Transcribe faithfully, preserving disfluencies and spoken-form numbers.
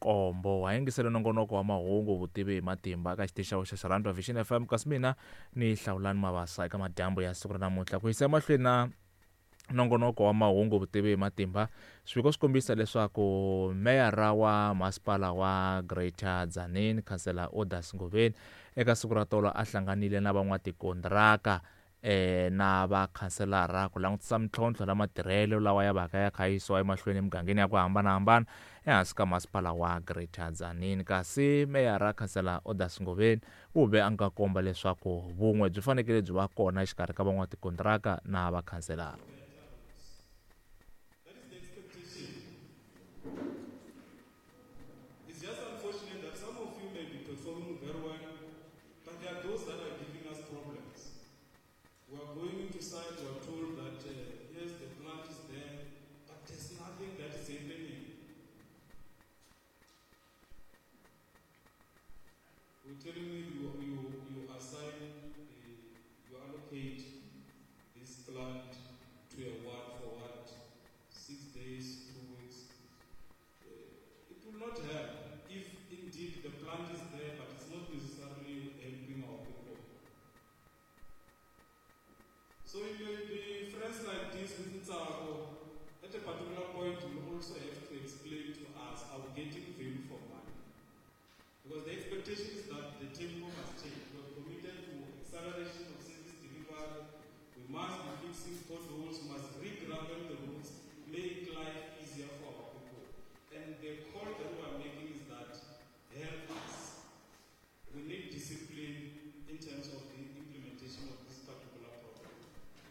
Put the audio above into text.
nkombo wa yingisele nongonoko wa mahungu vutivi hi matimba eka xitichi xa xa Xirhandwa Vision F M, kasi mina ni Hlawulani Mabasa eka madyambu ya siku ra namuntlha. Ku yisa emahlweni na nongonoko wa mahungu vutivi hi matimba, swiviko swi kombisa leswaku meyara wa masipala wa Greater Tzaneen Councillor Odas Ngobeni eka siku ra tolo a hlanganile na van'watikontiraka eh na vakhanselara ku langutisa mintlhontlho na matirhelo lawa ya vaka ya kha yisiwa emahlweni emugangeni ya ku hambanahambana ehansi ka masipala wa Greater Tzaneen. Kasi meyara Councillor Odas Ngobeni u ve a nga komba leswaku vun'we byi fanekele byi va kona exikarhi ka van'watikontiraka na vakhanselara. Telling me you